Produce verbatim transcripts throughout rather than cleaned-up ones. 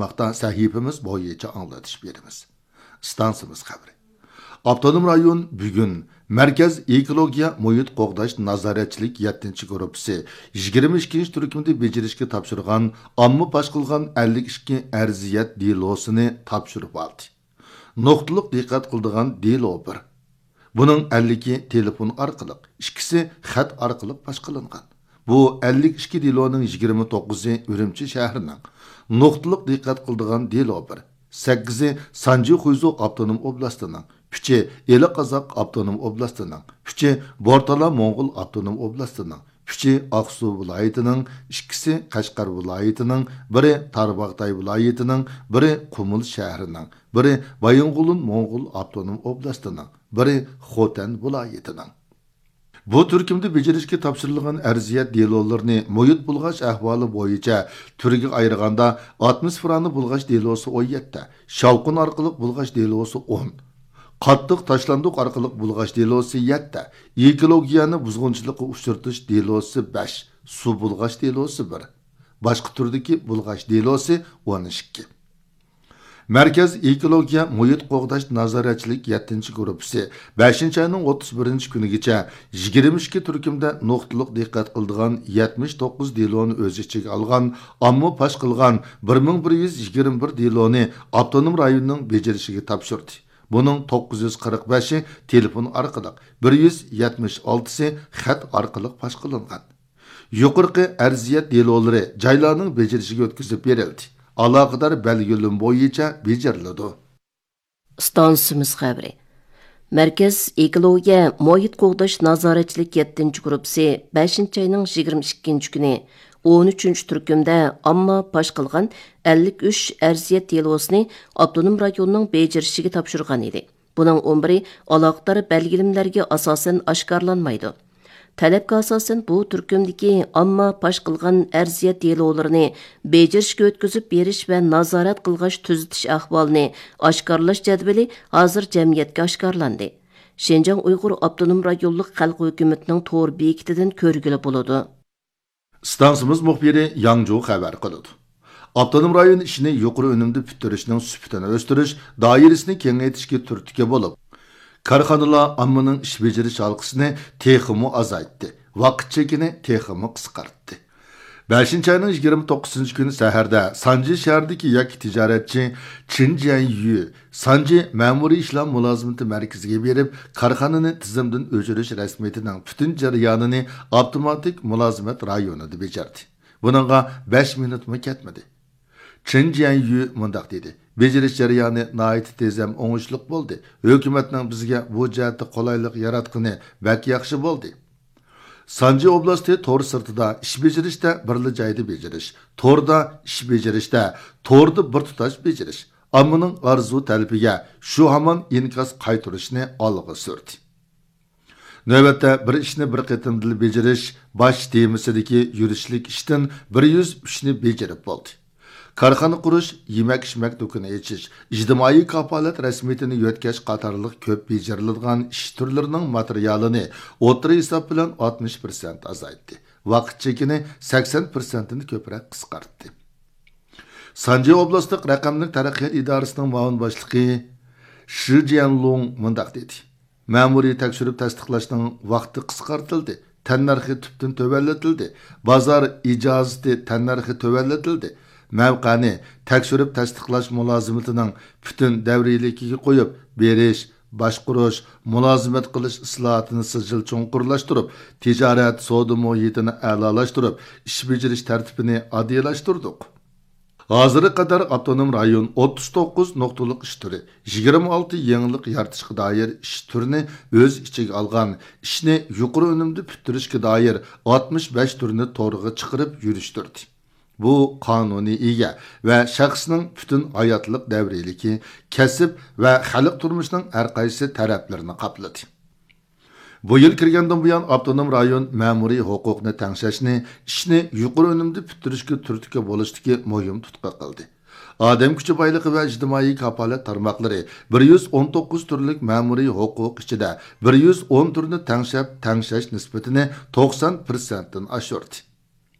ماقتا سەھىپىمىز بويىچە ئاڭلىتىش بېرىمىز. ئىستانسىمىز خەۋىرى. ئاپتونوم رايون بۈگۈن مەركەز ئېكولوگىيە مۇھىت قوغداش نازارەتچىلىك يەتتىنچى گۇرۇپپىسى يىگىرمە ئىككىنچى تۈركۈمدە بېجىرىشكە تاپشۇرغان ئامما پاش قىلغان ئەللىك ئىككى ئەرزىيەت دېلوسىنى تاپشۇرۇپ ئالدى. نۇقتىلىق دىققەت قىلىدىغان دېلو بىر. بۇنىڭ ئەللىكى تېلېفون ئارقىلىق، ئىككىسى خەت ئارقىلىق پاش قىلىنغان. بۇ ئەللىك ئىككى دېلونىڭ يىگىرمە توققۇزى ئۈرۈمچى شەھىرىنىڭ، نۇقتىلىق دىققەت قىلىدىغان دېلو بىر، سەككىزى سانجى خۇيزۇ ئاپتونوم ئوبلاستىنىڭ، ئۈچى ئىلى قازاق ئاپتونوم ئوبلاستىنىڭ، ئۈچى بورتالا موڭغۇل ئاپتونوم ئوبلاستىنىڭ، ئۈچى ئاقسۇ ۋىلايىتىنىڭ، ئىككىسى قەشقەر ۋىلايىتىنىڭ، بىرى تارباغاتاي ۋىلايىتىنىڭ، بىرى قۇمۇل شەھىرىنىڭ، بىرى بايىنغولىن موڭغۇل ئاپتونوم ئوبلاستىنىڭ، بىرى خوتەن ۋىلايىتىنىڭ. بۇ تۈركۈمدە بېجىرىشكە تاپشۇرۇلغان ئەرزىيەت دېلولىرىنى مۇھىت بۇلغاش ئەھۋالى بويىچە تۈرگە ئايرىغاندا، ئاتموسفېرانى بۇلغاش دېلوسى ئون يەتتە، شاۋقۇن ئارقىلىق بۇلغاش دېلوسى ئون، قاتتىق تاشلاندۇق ئارقىلىق بۇلغاش دېلوسى يەتتە، ئېكولوگىيەنى بۇزغۇنچىلىققا ئۇچرىتىش دېلوسى بەش، سۇ بۇلغاش دېلوسى بىر، باشقا تۈردىكى بۇلغاش دېلوسى ئون ئىككى. مەركەز ئېكولوگىيە مۇھىت قوغداش نازارەتچىلىك يەتتىنچى گۇرۇپپىسى بەشىنچى ئاينىڭ ئوتتۇز بىرىنچى كۈنىگىچە يىگىرمە ئىككى تۈركۈمدە نۇقتىلىق دىققەت قىلىدىغان يەتمىش توققۇز دېلونى ئۆز ئىچىگە ئالغان ئامما پاش قىلغان بىر مىڭ بىر يۈز يىگىرمە بىر دېلونى ئاپتونوم رايوننىڭ بېجىرىشىگە تاپشۇردى. بۇنىڭ توققۇز يۈز قىرىق بەشى تېلېفون ئارقىلىق، بىر يۈز يەتمىش ئالتىسى خەت ئارقىلىق پاش قىلىنغان. يۇقىرىقى ئەرزىيەت دېلولىرى جايلارنىڭ بېجىرىشىگە ئۆتكۈزۈپ بېرىلدى. ئالاقىدار بەلگىلىمە بويىچە بېجىرىلىدۇ. ئىستانسىمىز خەۋىرى. مەركەز ئېكولوگىيە مۇھىت قوغداش نازارەتچىلىك يەتتىنچى گۇرۇپپىسى بەشىنچى ئاينىڭ يىگىرمە ئىككىنچى كۈنى ئون ئۈچىنچى تۈركۈمدە ئامما پاش قىلغان ئەللىك ئۈچ ئەرزىيەت دېلوسىنى ئاپتونوم رايوننىڭ بېجىرىشىگە تاپشۇرغان ئىدى. بۇنىڭ ئون بىرى ئالاقىدار بەلگىلىمىلەرگە ئاساسەن ئاشكارىلانمايدۇ. تەلەپكە ئاساسەن، بۇ تۈركۈمدىكى ئامما پاش قىلغان ئەرزىيەت دېلولىرىنى بېجىرىشكە ئۆتكۈزۈپ بېرىش ۋە نازارەت قىلغاچ تۈزىتىش ئەھۋالىنى ئاشكارىلاش جەدۋىلى ھازىر جەمئىيەتكە ئاشكارىلاندى. شىنجاڭ ئۇيغۇر ئاپتونوم رايونلۇق خەلق ھۆكۈمىتىنىڭ تور بېكىتىدىن كۆرگىلى بولىدۇ. ئىستانسىمىز مۇخبىرى ياڭجۇ خەۋەر قىلىدۇ. ئاپتونوم رايون ئىشىنى يۇقىرى ئۈنۈمدە پۈتتۈرۈشنىڭ سۈپىتىنى ئۆستۈرۈش، دائىرىسىنى كېڭەيتىشكە تۈرتكە بولۇپ، كارخانىلار ئاممىنىڭ ئىش بېجىرىش ھالقىسىنى تېخىمۇ ئازايتتى، ۋاقىت چېكىنى تېخىمۇ قىسقارتتى. بەشىنچى ئاينىڭ يىگىرمە توققۇزىنچى كۈنى سەھەردە سانجى شەھىرىدىكى ياكى تىجارەتچى چىن جيەنيۈ سانجى مەمۇرىي ئىشلار مۇلازىمىتى مەركىزىگە بېرىپ، كارخانىنى تىزىمدىن ئۆچۈرۈش رەسمىيىتىنىڭ پۈتۈن جەريانىنى ئاپتوماتىك مۇلازىمەت رايونىدا بېجەردى. بۇنىڭغا بەش مىنۇتمۇ كەتمىدى. چېن جيەنيۈ مۇنداق دېدى: «بېجىرىش جەريانى ناھايىتى تېز ھەم ئوڭۇشلۇق بولدى. ھۆكۈمەتنىڭ بىزگە بۇ جەھەتتە قولايلىق ياراتقىنى بەك ياخشى بولدى.» سانجى ئوبلاستى تور سىرتىدا ئىش بېجىرىشتە بىرلا جايدا بېجىرىش، توردا ئىش بېجىرىشتە توردا بىر تۇتاش بېجىرىش، ئاممىنىڭ ئارزۇ تەلىپىگە شۇ ھامان ئىنكاس قايتۇرۇشنى ئالغا سۈردى. نۆۋەتتە بىر ئىشنى بىر قېتىمدىلا بېجىرىش باش تېمىسىدىكى يۈرۈشلۈك ئىشتىن بىر يۈز ئۈچنى بېجىرىپ بولدى. كارخانا قۇرۇش، يېمەك-ئىچمەك دۇكىنى ئېچىش، ئىجتىمائىي كاپالەت رەسمىيىتىنى يۆتكەش قاتارلىق كۆپ بېجىرىلىدىغان ئىش تۈرلىرىنىڭ ماتېرىيالىنى ئوتتۇرا ھېساب بىلەن ئاتمىش پىرسەنت ئازايتتى. ۋاقىت چېكىنى سەكسەن پىرسەنتتىن كۆپرەك قىسقارتتى. سانجى ئوبلاستلىق رەقەملىك تەرەققىيات ئىدارىسىنىڭ مۇئاۋىن باشلىقى شى جيەنلۇڭ مۇنداق دېدى: «مەمۇرىي تەكشۈرۈپ تەستىقلاشنىڭ ۋاقتى قىسقارتىلدى، تەننەرخى تۈپتىن تۆۋەنلىتىلدى، بازار ئىجازىتى تەننەرخى تۆۋەنلىتىلدى، مەۋقەنى تەكشۈرۈپ تەستىقلاش مۇلازىمىتىنىڭ پۈتۈن دەۋرىيلىكىگە قويۇپ، بېرىش، باشقۇرۇش، مۇلازىمەت قىلىش ئىسلاھاتىنى سىجىل چوڭقۇرلاشتۇرۇپ، تىجارەت، سودا مۇھىتىنى ئەلالاشتۇرۇپ، ئىش بېجىرىش تەرتىپىنى ئاددىيلاشتۇردۇق.» ھازىرغا قەدەر ئاپتونوم رايون ئوتتۇز توققۇز نۇقتىلىق ئىش تۈرى، يىگىرمە ئالتە يېڭىلىق يارىتىشقا دائىر ئىش تۈرىنى ئۆز ئىچىگە ئالغان، ئىشنى يۇقىرى ئۈنۈمدە پۈتتۈرۈشكە دائىر ئاتمىش بەش تۈرنى تورغا چىقىرىپ يۈرۈشتۈردى. بۇ قانۇنىي ئىگە ۋە شەخسنىڭ پۈتۈن ھاياتلىق دەۋرىيلىكى، كەسىپ ۋە خەلق تۇرمۇشىنىڭ ھەر قايسى تەرەپلىرىنى قاپلىدى. بۇ يىل كىرگەندىن بۇيان، ئاپتونوم رايون مەمۇرىي ھوقۇقنى تەڭشەشنى ئىشنى يۇقىرى ئۈنۈمدە پۈتتۈرۈشكە تۈرتكە بولۇشتىكى مۇھىم تۇتقا قىلدى. ئادەم كۈچى بايلىقى ۋە ئىجتىمائىي كاپالەت تارماقلىرى بىر يۈز ئون توققۇز تۈرلۈك مەمۇرىي ھوقۇق ئىچىدە بىر يۈز ئون تۈرنى تەڭشەپ، تەڭشەش نىسبىتىنى توقسان پىرسەنتتىن ئاشۇردى.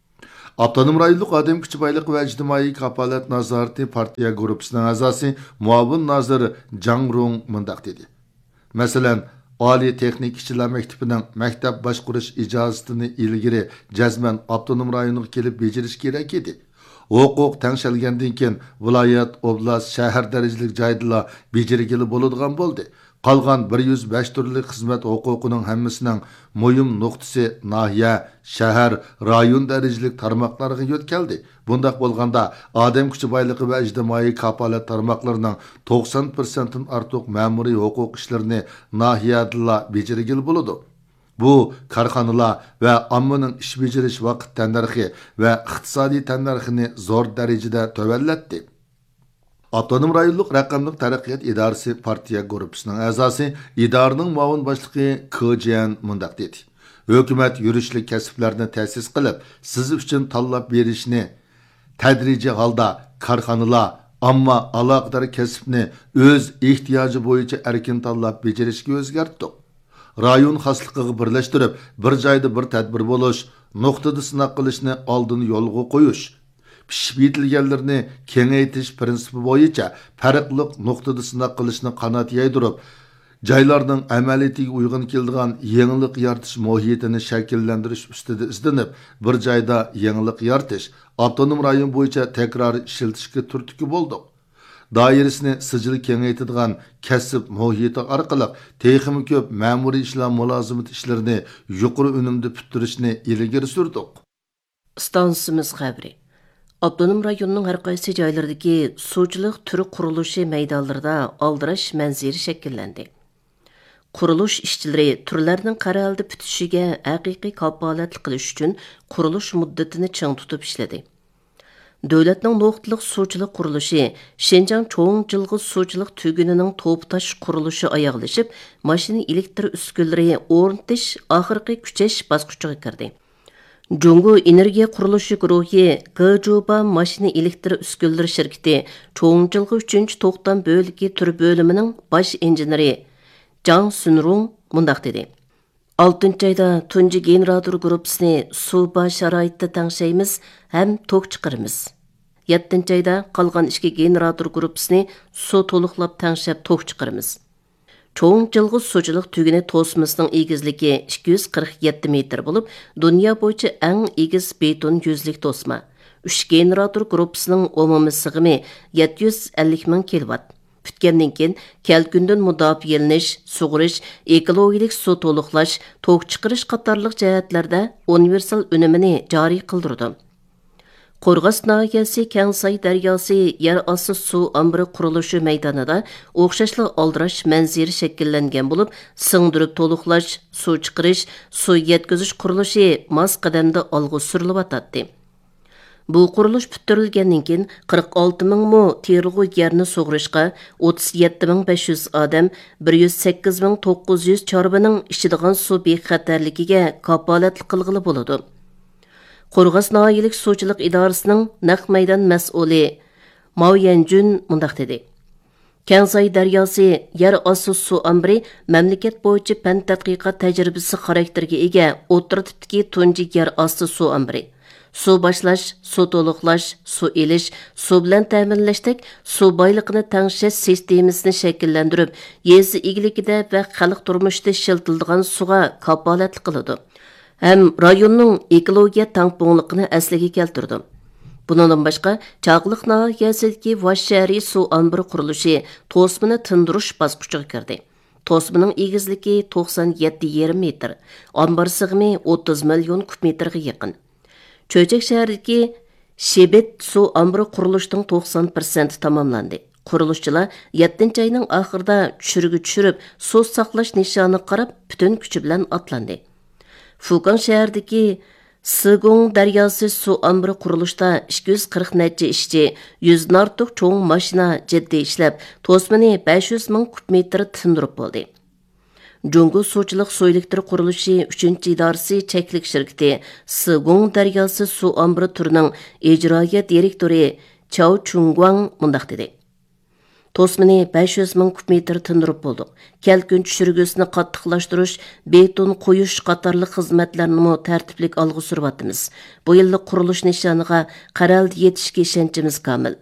ئاپتونوم رايونلۇق ئادەم كۈچى بايلىقى ۋە ئىجتىمائىي كاپالەت نازارىتى پارتىيە گۇرۇپپىسىنىڭ ئەزاسى، مۇئاۋىن نازىر جاڭ رۇڭ مۇنداق دېدى: مەسىلەن، ئالىي تېخنىكا ئىشچىلار مەكتىپىنىڭ مەكتەپ باشقۇرۇش ئىجازىتىنى ئىلگىرى جەزمەن ئاپتونوم رايونغا كېلىپ بېجىرىش كېرەك ئىدى. ھوقۇق تەڭشەلگەندىن كېيىن، ۋىلايەت، ئوبلاست، شەھەر دەرىجىلىك جايدىلا بېجىرگىلى بولىدىغان بولدى. قالغان بىر يۈز بەش تۈرلۈك خىزمەت ھوقۇقىنىڭ ھەممىسىنىڭ مۇھىم نۇقتىسى ناھىيە، شەھەر، رايون دەرىجىلىك تارماقلارغا يۆتكەلدى. بۇنداق بولغاندا، ئادەم كۈچى بايلىقى ۋە ئىجتىمائىي كاپالەت تارماقلىرىنىڭ توقسان پىرسەنتتىن ئارتۇق مەمۇرىي ھوقۇق ئىشلىرىنى ناھىيەدىلا بېجىرگىلى بولىدۇ. بۇ كارخانىلار ۋە ئاممىنىڭ ئىش بېجىرىش ۋاقىت تەننەرخى ۋە ئىقتىسادىي تەننەرخىنى زور دەرىجىدە تۆۋەنلەتتى. ئاپتونوم رايونلۇق رەقەملىك تەرەققىيات ئىدارىسى پارتىيە گۇرۇپپىسىنىڭ ئەزاسى، ئىدارىنىڭ مۇئاۋىن باشلىقى كې جيەن مۇنداق دېدى: ھۆكۈمەت يۈرۈشلۈك كەسىپلەرنى تەسىس قىلىپ، سىز ئۈچۈن تاللاپ بېرىشنى تەدرىجىي ھالدا كارخانىلار، ئامما ئالاقىدار كەسىپنى ئۆز ئېھتىياجى بويىچە ئەركىن تاللاپ بېجىرىشكە ئۆزگەرتتۇق. رايون خاسلىقىغا بىرلەشتۈرۈپ، بىر جايدا بىر تەدبىر بولۇش، نۇقتىدا سىناق قىلىشنى ئالدىن يولغا قويۇش، پىشىپ يېتىلگەنلىرىنى كېڭەيتىش پىرىنسىپى بويىچە پەرقلىق نۇقتىدا سىناق قىلىشنى قانات يايدۇرۇپ، جايلارنىڭ ئەمەلىيىتىگە ئۇيغۇن كېلىدىغان يېڭىلىق يارىتىش مۇھىتىنى شەكىللەندۈرۈش ئۈستىدە ئىزدىنىپ، بىر جايدا يېڭىلىق يارىتىش، ئاپتونوم رايون بويىچە تەكرارىي ئىشلىتىشكە تۈرتكە بولدۇق. دائىرىسىنى سىجىل كېڭەيتىدىغان كەسىپ مۇھىتى ئارقىلىق تېخىمۇ كۆپ مەمۇرىي ئىشلار مۇلازىمىتى ئىشلىرىنى يۇقىرى ئۈنۈمدە پۈتتۈرۈشنى ئىلگىرى سۈردۇق. ئىستانسىمىز خەۋىرى. ئاپتونوم رايوننىڭ ھەر قايسى جايلىرىدىكى سۇچىلىق تۈر قۇرۇلۇشى مەيدانلىرىدا ئالدىراش مەنزىرە شەكىللەندى. قۇرۇلۇش ئىشچىلىرى تۈرلەرنىڭ قەرەلدە پۈتۈشىگە ھەقىقىي كاپالەتلىك قىلىش ئۈچۈن قۇرۇلۇش مۇددىتىنى چىڭ تۇتۇپ ئىشلىدى. دۆلەتنىڭ نۇقتىلىق سۇچىلىق قۇرۇلۇشى شىنجاڭ چوڭ جىلغا سۇچىلىق تۈگۈنىنىڭ توپا تاش قۇرۇلۇشى ئاياغلىشىپ، ماشىنا ئېلېكتر ئۈسكۈنىلىرى ئورنىتىش ئاخىرقى كۈچەش باسقۇچىغا كىردى. جۇڭگو ئېنېرگىيە قۇرۇلۇشى گۇرۇھى گېجۇبا ماشىنا ئېلېكتر ئۈسكۈنىلىرى شىركىتى چوڭ جىلغا ئۈچىنچى توختام بۆلىكى تۈر بۆلۈمىنىڭ باش ئىنژېنېرى جاڭ سۈنرۇڭ مۇنداق دېدى: ئالتىنچى ئايدا تۇنجى گېنېراتور گۇرۇپپىسىنى سۇ بار شارائىتتا تەڭشەيمىز ھەم توك چىقىرىمىز. يەتتىنچى ئايدا قالغان ئىككى گېنېراتور گۇرۇپپىسىنى سۇ تولۇقلاپ تەڭشەپ توك چىقىرىمىز. چوڭ جىلغا سۇچىلىق تۈگۈنى توسمىسىنىڭ ئېگىزلىكى ئىككى يۈز قىرىق يەتتە مېتىر بولۇپ، دۇنيا بويىچە ئەڭ ئېگىز بېتون يۈزلۈك توسما. ئۈچ گېنېراتور گۇرۇپپىسىنىڭ ئومۇمىي سىغىمى يەتتە يۈز ئەللىك مىڭ كىلوۋات. پۈتكەندىن كېيىن، كەلكۈندىن مۇداپىئەلىنىش، سۇغىرىش، ئېكولوگىيەلىك سۇ تولۇقلاش، توك چىقىرىش قاتارلىق جەھەتلەردە ئۇنىۋېرسال ئۈنۈمىنى جارى قىلدۇرىدۇ. قورغاس ناھىيەسى كەڭساي دەرياسى يەر ئاستى سۇ ئامبىرى قۇرۇلۇشى مەيدانىدا ئوخشاشلا ئالدىراش مەنزىرە شەكىللەنگەن بولۇپ، سىڭدۈرۈپ تولۇقلاش، سۇ چىقىرىش، سۇ يەتكۈزۈش قۇرۇلۇشى ماس قەدەمدە ئالغا سۈرۈلۈۋاتاتتى. بۇ قۇرۇلۇش پۈتتۈرۈلگەندىن كېيىن، قىرىق ئالتە مىڭ مو تېرىلغۇ يەرنى سۇغىرىشقا، ئوتتۇز يەتتە مىڭ بەش يۈز ئادەم، بىر يۈز سەككىز مىڭ توققۇز يۈز چارۋىنىڭ ئىچىدىغان سۇ بىخەتەرلىكىگە كاپالەتلىك قىلغىلى بولىدۇ. قورغاس ناھىيەلىك سۇچىلىق ئىدارىسىنىڭ نەق مەيدان مەسئۇلى ماۋ يەنجۈن مۇنداق دېدى: كەڭساي دەرياسى يەر ئاستى سۇ ئامبىرى مەملىكەت بويىچە پەن تەتقىقات تەجرىبىسى خاراكتېرىگە ئىگە ئوتتۇرا تىپتىكى تۇنجى يەر ئاستى سۇ ئامبىرى. سۇ باشلاش، سۇ تولۇقلاش، سۇ ئېلىش، سۇ بىلەن تەمىنلەشتەك سۇ بايلىقىنى تەڭشەش سىستېمىسىنى شەكىللەندۈرۈپ، يېزا ئىگىلىكىدە ۋە خەلق تۇرمۇشىدا ئىشلىتىلىدىغان سۇغا كاپالەتلىك قىلىدۇ. ھەم رايوننىڭ ئېكولوگىيە تەڭپۇڭلۇقىنى ئەسلىگە كەلتۈرىدۇ. بۇنىڭدىن باشقا، چاقىلىق ناھىيەسىدىكى ۋاش شەھىرى سۇ ئامبىرى قۇرۇلۇشى توسمىنى تىندۇرۇش باسقۇچىغا كىردى. توسمىنىڭ ئېگىزلىكى توقسان يەتتە يېرىم مېتىر، ئامبار سىغىمى ئوتتۇز مىليون كۇب مېتىرغا يېقىن. چۆچەك شەھىرىدىكى شىبىت سۇ ئامبىرى قۇرۇلۇشىنىڭ توقسان پىرسەنتى تاماملاندى. قۇرۇلۇشچىلار يەتتىنچى ئاينىڭ ئاخىرىدا چۈشۈرگە چۈشۈرۈپ، سۇ ساقلاش نىشانىغا قاراپ پۈتۈن كۈچى بىلەن ئاتلاندى. فۇكاڭ شەھىرىدىكى سىگۇڭ دەرياسى سۇ ئامبىرى قۇرۇلۇشىدا ئىككى يۈز قىرىق نەچچە ئىشچى، يۈزدىن ئارتۇق چوڭ ماشىنا جىددىي ئىشلەپ، توسمىنى بەش يۈز مىڭ كۇب مېتىر تىندۇرۇپ بولدى. جۇڭگو سۇچىلىق سۇ ئېلېكتر قۇرۇلۇشى ئۈچىنچى ئىدارىسى چەكلىك شىركىتى سىگۇڭ دەرياسى سۇ ئامبىرى تۈرىنىڭ ئىجرائىيە دىرېكتورى چاۋ چۈڭگۇاڭ مۇنداق دېدى: توسمىنى بەش يۈز مىڭ كۇب مېتىر تىندۇرۇپ بولدۇق. كەلكۈن چۈشۈرگۈسىنى قاتتىقلاشتۇرۇش، بېتون قويۇش قاتارلىق خىزمەتلەرنىمۇ تەرتىپلىك ئالغا سۈرۈۋاتىمىز. بۇ يىللىق قۇرۇلۇش نىشانىغا قەرەلدە يېتىشكە ئىشەنچىمىز كامىل.